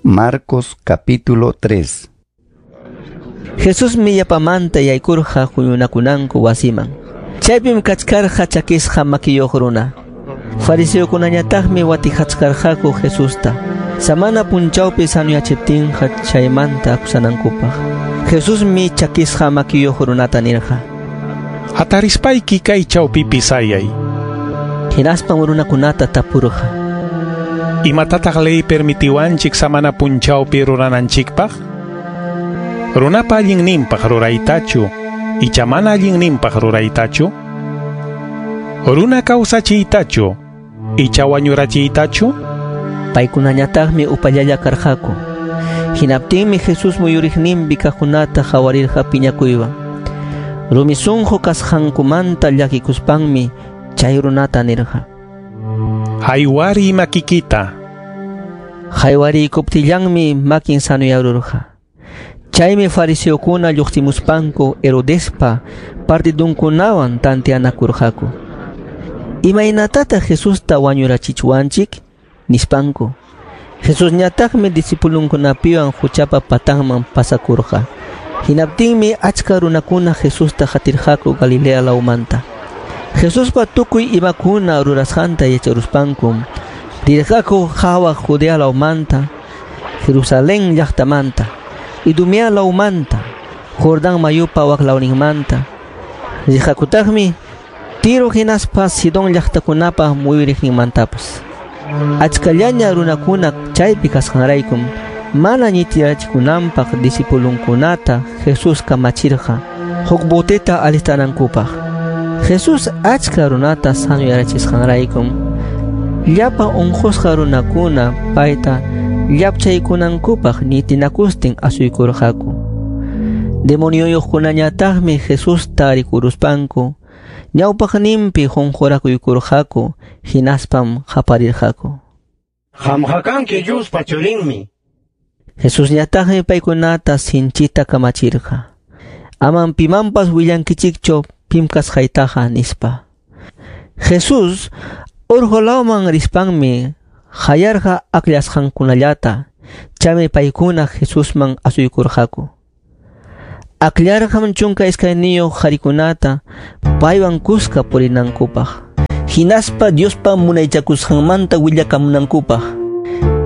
Marcos capítulo 3. Jesusmi yapamanta yaykurqa huñunakunanku wasiman. Chaypim kachkarqa chakisqa makiyuq runa. Fariseokunañataqmi watijachkarqaku Jesusta. Samana punchawpi sanuyachiptinqa chaymanta akusanankupaq. Jesusmi chakisqa makiyuq runata nirqa. Hatarispayki kay chawpipi sayay. Hinaspam runakunata tapurqa. Imatataq ley permitiwanchik samana punchawpi rurananchikpaq? Runapa allinninpaq ruraytachu, icha mana allinninpaq ruraytachu? Runa kawsachiytachu, icha wañurachiytachu? Paykunañataqmi upallalla karqaku. Hinaptinmi Jesús muyuriqninpi kaqkunata qawarirqa piñakuywan. Rumi sunqu kasqankumanta llakikuspanmi chay runata nirqa. Haywari makikita. Haywariykuptillanmi makin sanuyarurqa. Chaymi fariseokuna lluqsimuspanku Herodespa partidunkunawan tanteanakurqaku. Imaynatataq Jesusta wañurachichwanchik? Nispanku. Jesusñataqmi discipulunkunapiwan huchapa patanman pasakurqa. Hinaptinmi achka runakuna Jesusta qatirqaku Galilea lawmanta. Jesuspa tukuy imakuna rurasqanta yacharuspankum rirqaku hawa Judea lawmanta, Jerusalén llaqtamanta, Idumea lawmanta, Jordán mayupa waklawninmanta. Rirqakutaqmi Tiro hinaspa Sidón llaqtakunapa muyuriqninmantapas. Achkallaña runakuna chaypi kasqanraykum mana ñitirachikunanpaq discipulunkunata Jesús kamachirqa huk boteta alistanankupaq. Jesús achka runata sanuyarachisqanraykum llapa unqusqa runakuna payta llapchaykunankupaq ñitinakustin asuykurqaku. Demonioyuqkunañataqmi Jesusta rikuruspanku ñawpaqninpi qunqurakuykurqaku hinaspam qaparirqaku. Qamqa kanki Diospa churinmi. Jesusñataqmi paykunata sinchita kamachirqa. Amam pimanpas willankichikchu pim kasqaytaqa nispa. Jesús urqu lawman rispanmi hayarqa akllasqankunallata, chaymi paykuna Jesusman asuykurqaku. Akllarqam 12 qharikunata paywan kuska purinankupaq, hinaspa Diospa munaychakusqanmanta willakamunankupaq.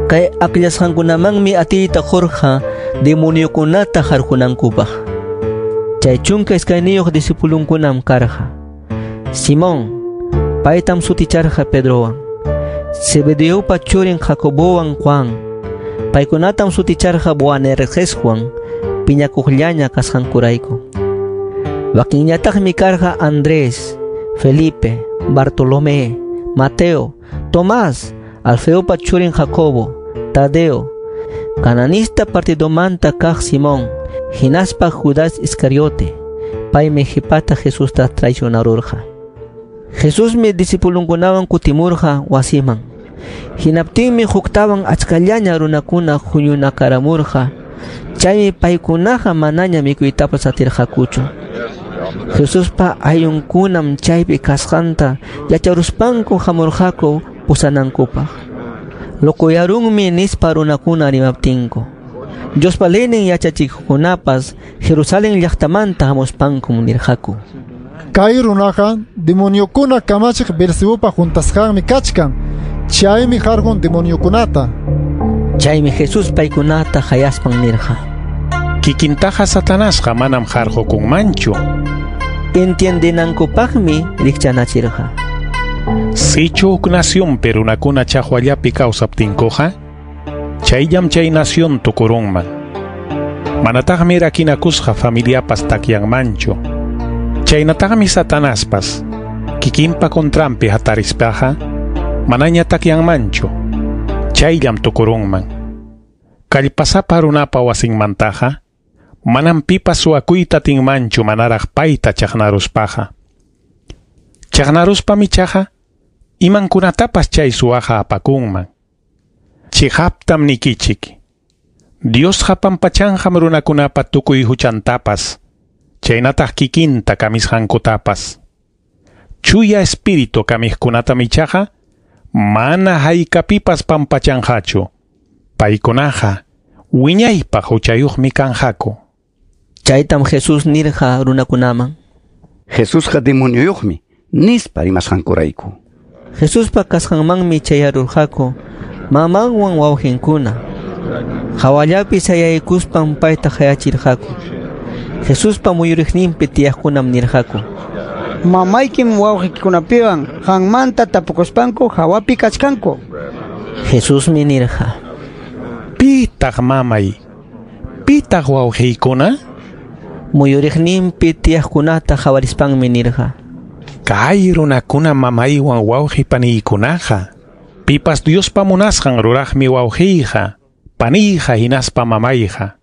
Kay akllasqankunamanmi atiyta qurqa demoniokunata harqunankupaq. Chay 12 discipulunkunam karqa. Simón, paytam suticharqa Pedrowan. Zebedeopa churin Jacobowan Juan, paykunatam suticharqa Boanergeswan, piñakuqllaña kasqankurayku. Wakinñataqmi karqa Andrés, Felipe, Bartolomé, Mateo, Tomás, Alfeopa churin Jacobo, Tadeo, cananista partidomanta kaq Simón, hinaspa Judas Iscariote, paymi qhipata Jesusta traicionarurqa. Jesusmi discipulunkunawan kutimurqa wasiman. Hinaptinmi huktawan achkallaña runakuna huñunakaramurqa. Chaymi paykunaqa manaña mikuytapas atirqakuchu. Jesuspa ayllunkunam chaypi kasqanta yacharuspanku hamurqaku pusanankupaq. Lokuyarunmi nispa runakuna rimaptinku. Diospa leynin yachachikuqkunapas Jerusalén llaqtamanta hamuspankum nirqaku. Kay runaqa demoniokuna kamachiq Beelzebupa juntasqanmi kachkan. Chaymi harqun demoniokunata. Chaymi Jesús paykunata hayaspan nirqa. Kikintaqa Satanasqa manam harqukunmanchu. Entiendenankupaqmi rikchanachirqa. Sichu huk nacionpi runakuna chaqwallapi kawsaptinkuqa, chayllam chay nación tukurunman. Manataqmi rakinakusqa familiapas takyanmanchu. Chaynataqmi Satanaspas kikinpa contranpi hatarispaqa manaña takyanmanchu. Chayllam tukurunman. Kallpasapa runapa wasinmantaqa manam pipas suwakuyta atinmanchu manaraq payta chaqnaruspaqa. Chaqnaruspam ichaqa imankunatapas chay suwaqa apakunman. Chiqaptam nikichik. Diosqa pampachanqam runakunapa tukuy huchantapas, chaynataq kikinta kamisqankutapas. Chuya espíritu kamiqkunatam ichaqa mana haykapipas pampachanqachu. Paykunaqa Wiñaypaq huchayuqmi kanqaku. Chaytam Jesús nirqa runakunaman. Jesusqa demonioyuqmi, nispa rimasqankurayku. Jesuspa kasqanmanmi chayarurqaku mamanwan wawqinkuna. Hawallapi sayaykuspan payta qayachirqaku. Jesuspa muyuriqninpi tiyaqkunam nirqaku: Mamaykim wawqikikunapiwan qanmanta tapukuspanku hawapi kachkanku. Jesusmi nirqa: Pitaq mamay? Pitaq wawqiykuna? Muyuriqninpi tiyaqkunata qawarispanmi nirqa: Kay runakuna mamaywan wawqi paniykunaqa, pipas Diospa munasqan ruraqmi wawqiyqa, paniyqa hinaspa mamayqa.